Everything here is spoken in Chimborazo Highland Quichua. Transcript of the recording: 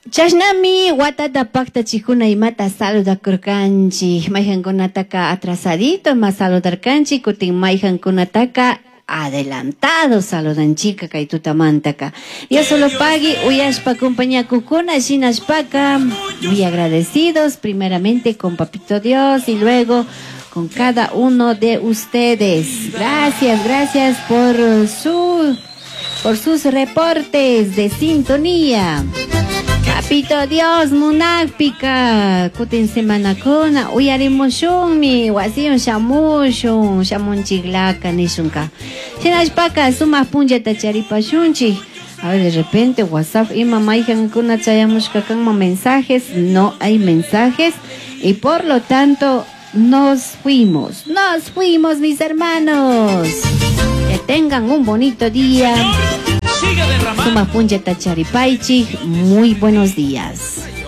Chashnami watata pactachikuna imata saludakurkanchik. Mayqankunataka atrasadito ima saludarkanchik, kutin mayqankunataka adelantado saludanchika kay tutamantaka. Dios solo pagui uyashpa compañakukuna shinashpaka muy agradecidos primeramente con Papito Dios y luego con cada uno de ustedes. Gracias, gracias por sus reportes de sintonía. Papito Dios, munakpika, kutin semanakuna, uyarimushunmi, wasiyon shamushun, shamunchiklaka nishunka. Shinashpaka, sumaq punllata charipashunchik. A ver, de repente WhatsApp ima mayqankuna chayamushka kanman mensajes, no hay mensajes y por lo tanto nos fuimos, mis hermanos. Que tengan un bonito día. Sigue derramando. Sumaq punllata charipaychik. Muy buenos días.